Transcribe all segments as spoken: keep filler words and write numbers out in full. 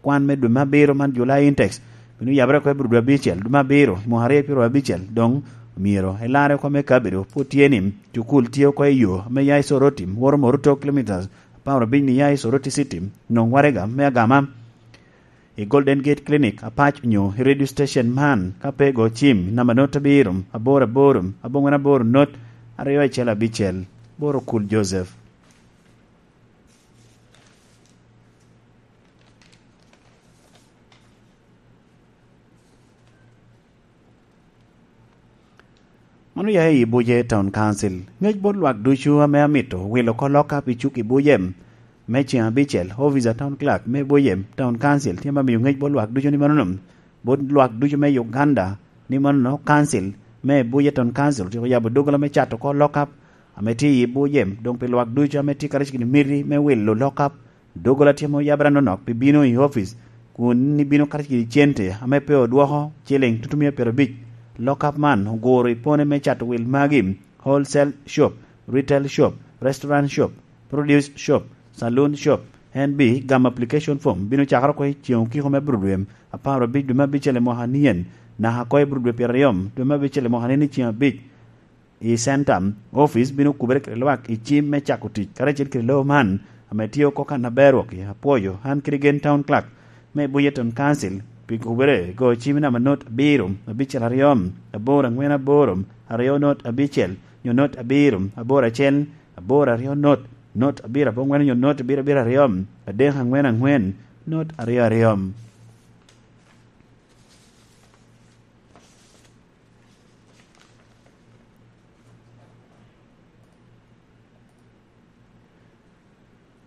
kwan me dwe me abiro man, July intakes, bino yabere oko i bur dwe abicel, dwe me abiro, i mwaka aryo pyeraryo abicel. Doŋ myero elarre oko me kabedo pwod tye ni cukul tye oko i yo ame ya i Soroti, woto Moruto kilomitas apar abic ni ya i Soroti City, nwoŋ waraga me agama i Golden Gate Clinic apac onyo i radio station man, ka pe go cim i namba not abiro, aboro aboro, abongwen aboro, not aryo acel abicel. Boro Kul Joseph. Mano ya i Buje Town Council. Ŋec bot lwak ducu ame amito wilo oko lockup i cuk i Buje me ceŋ abicel, Office a Town Clerk me Buje Town Council tye ame miyo ŋec bot lwak ducu ni manono, bot lwak ducu me Uganda ni manono, Council me Buje Town Council otyeko yabo doggola me cato oko lockup ame tye i Buje, doŋ pi lwak ducu ame tye karacel kede miti me wilo lockup, doggola tye ame oyabere anonok pi bino i opic, kun ibino karacel kede cente ame pe odwoko, ciliŋ tutumia pyerabic. Lockup man oguro i pone me cato wil magi: wholesale shop, retail shop, restaurant shop, produce shop, saloon shop. En bi gamo application form bino cakere oko i ceŋ okiko me bur dwe apar abic dwe me abicel i mwaka nien, naka oko i bur dwe pyeraryo dwe me abicel i mwaka nien i ceŋ abic. I center office bino kubere kede lwak i cim me cako tic karacel kede lobo man ame tye oko kan aber wok. Apwoyo an kede gen Town Clerk me Buje Town Council pi kubere go cim namba not abiro abicel aryo, aboro angwen aboro, aryo not abicel, nyo not abiro aboro acel, aboro aryo not, not abiro abongwen, nyo not abiro abiro aryo, adek angwen angwen, not aryo aryo.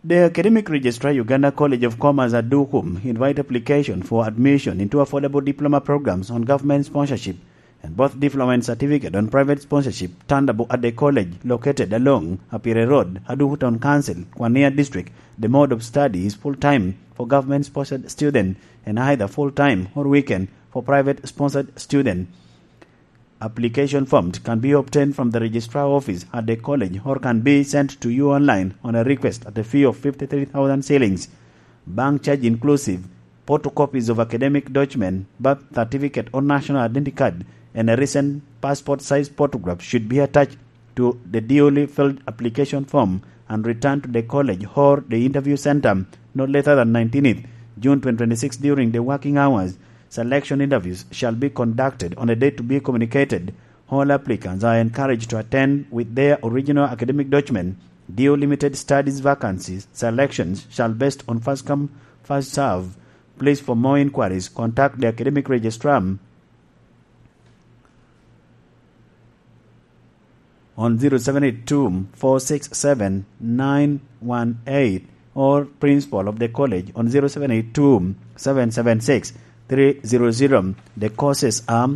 The Academic Registrar, Uganda College of Commerce, Adukum, invite application for admission into affordable diploma programs on government sponsorship and both diploma and certificate on private sponsorship, Tandabo at the college located along Apire Road, Aduku Town Council, Kwania District. The mode of study is full-time for government-sponsored student and either full-time or weekend for private-sponsored student. Application forms can be obtained from the registrar office at the college or can be sent to you online on a request at a fee of fifty-three thousand shillings, bank charge inclusive. Photocopies of academic document, birth certificate or national identity card, and a recent passport size photograph should be attached to the duly filled application form and returned to the college or the interview center no later than nineteenth June twenty twenty-six during the working hours. Selection interviews shall be conducted on a date to be communicated. All applicants are encouraged to attend with their original academic document. Due limited studies vacancies, selections shall based on first come, first serve. Please, for more inquiries, contact the academic registrar on zero seven eight two, four six seven, nine one eight or principal of the college on zero seven eight two, seven seven six, three zero zero. The courses are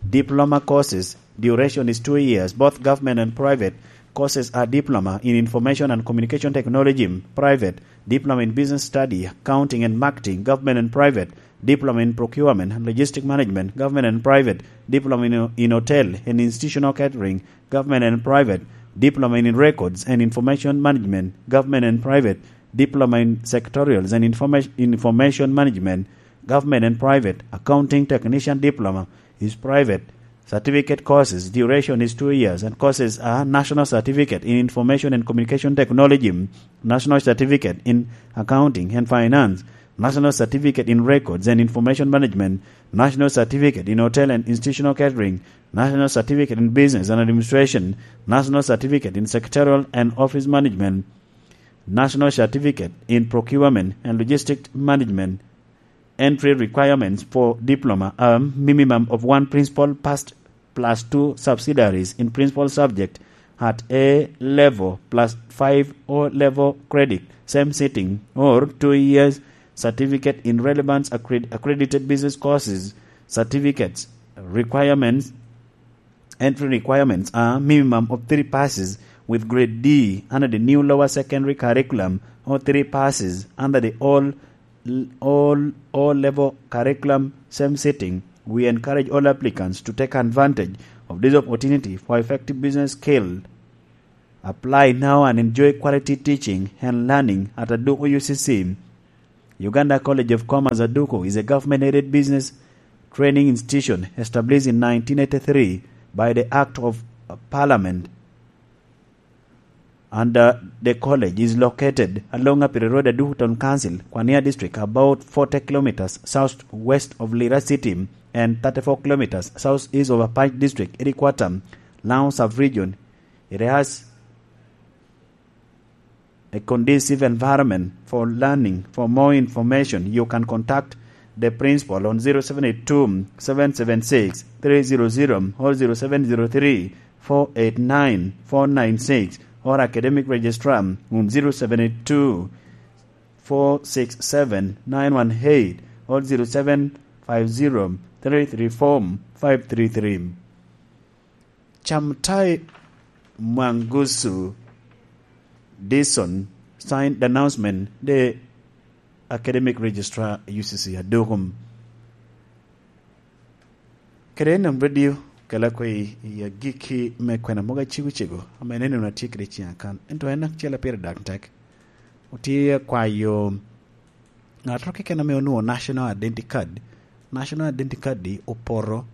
diploma courses. Duration is two years. Both government and private courses are diploma in information and communication technology, private, diploma in business study, accounting and marketing, government and private, diploma in procurement and logistic management, government and private, diploma in, in hotel and institutional catering, government and private, diploma in records and information management, government and private, diploma in secretarials and information, information management, government and private, accounting technician diploma is private. Certificate courses, duration is two years, and courses are National Certificate in Information and Communication Technology, National Certificate in Accounting and Finance, National Certificate in Records and Information Management, National Certificate in Hotel and Institutional Catering, National Certificate in Business and Administration, National Certificate in Secretarial and Office Management, National Certificate in Procurement and Logistic Management. Entry requirements for diploma are minimum of one principal passed plus two subsidiaries in principal subject at A level plus five O level credit, same sitting, or two years certificate in relevant accred-, accredited business courses. Certificates requirements, entry requirements are minimum of three passes with grade D under the new lower secondary curriculum or three passes under the old, old O level curriculum, same sitting. We encourage all applicants to take advantage of this opportunity for effective business skill. Apply now and enjoy quality teaching and learning at Aduku U C C. Uganda College of Commerce Aduku is a government-aided business training institution established in nineteen eighty-three by the Act of Parliament, and uh, the college is located along Apiri Road, Aduku Town Council, Kwania District, about forty kilometers southwest of Lira City and thirty-four kilometers southeast of Apac District, Irikwata, Lango Sub-Region. It has a conducive environment for learning. For more information, you can contact the principal on zero seven eight two, seven seven six, three zero zero or zero seven zero three, four eight nine, four nine six or academic registrar on zero seven eight two, four six seven, nine one eight or zero seven five zero, three three four, five three three. Chamtai Mwangusu Dison signed the announcement, the academic registrar U C C Adukum. Kede Enam Radio kela kwe i agikki me kwena mogo acego cego, ame nene na tye kede ciŋ akan. Ento en acel a pire dak tek. Otye akwayo ŋat ro keken ame onwoŋo National Identity Card. National Identity Card di opoto,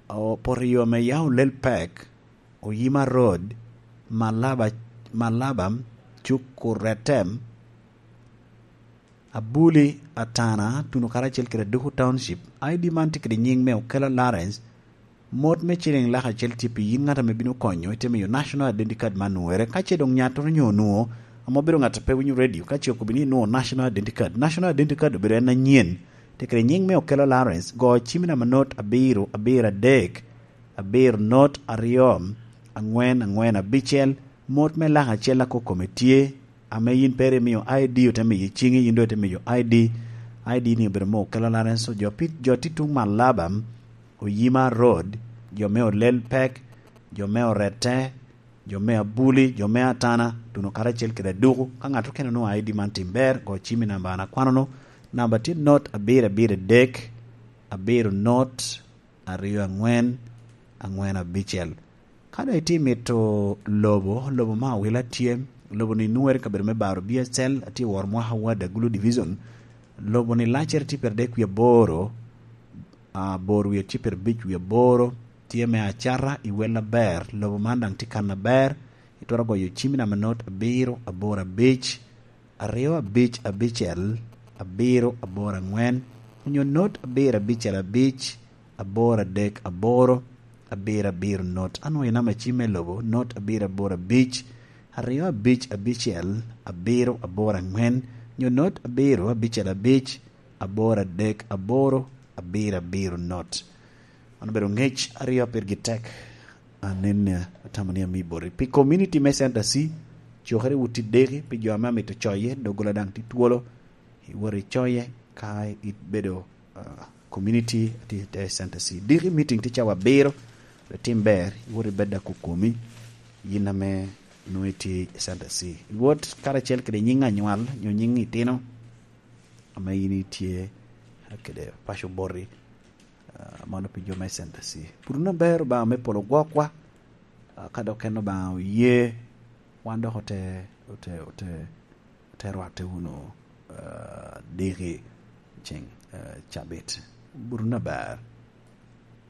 opoto i yo ame yam olel pek, Oyima Road, Malaba, Malaba, Cuku Retem, Abuli, Atana, Tuno karacel kede Aduku Township. I D man tye kede nyiŋ me Okello Lawrence. Mot me ciliŋ lak acel tye pi yin ŋat ame bino konyo, ite miyo National Identity Card man nwere. Ka ce doŋ nyattoro nyo onwoŋo, ame obedo ŋat a pe winyo radio, ka ce okobo ni inwoŋo National Identity Card. National Identity Card obedo en anyen. Tye kede nyiŋ me Okello Lawrence, go cimmi namba not abiro, abiro adek, abiro not aryo, angwen, angwen abicel. Mot me lak acel a kok kome tye, ame yin pe ri imio I D, ote miyo ciŋi, yin doŋ ite miyo I D. I D ni obedo me Okello Lawrence, jo pi-, jo tye tuŋ Malaba, Oyima Road, jo me Olel Pek, jo me Orette, jo me Abuli, jo me Atana, Tuno karacel kede Aduku. Ka ŋat okene onwoŋo I D man tim ber, go cimmi namba an akwano-nu. Namba tye not abiro abiro adek, abiro not aryo angwen, angwen abicel. Ka doŋ itye mito lobo, lobo me awila tye, lobo-ni nwere i kabedo me Baro B S L, atye woro mwaka wa Dagulu Division. Lobo-ni laccere tye pire dek wiye aboro, ah, bor wiye tye pire abic wiye aboro, tye me acata i wel aber, lobo man daŋ tye kan aber, itwero goyo cimmi namba not abiro aboro abic, aryo abic abicel, abiro aboro angwen, onyo not abiro abicel abic, aboro adek aboro, abiro abiro not. Anwoŋo i namba cim me lobo, not abiro aboro abic, aryo abic abicel, abiro aboro angwen, nyo not abiro abicel abic, aboro adek aboro, abiro abiro not. Man obedo ngec aryo a pirgi tek. Anen, eh, atamo ni amio boti. Pi community me Center C, cokere wot i deki, pi jo ame amito coye, doggola daŋ tye twolo, iwot icoye, ka ibedo, ah, community a tye i te Center C. Deki meeting tye cawa abiro, ri tim ber, iwot ibed a kokomi, yin ame nwoŋo itye i Center C. Iwot karacel kede nyiŋ anywal, nyo nyiŋ itino, ame yin itye kede paco boti, ah, mano pi jo me Center C. Pwod wun aber, Obaŋa me polo gwokwa, ah, ka dok en Obaŋa oye, wan dok ote, ote, ote, ote rwatte wunu, ah, diki ceŋ, ah, cabit. Pwod wun aber.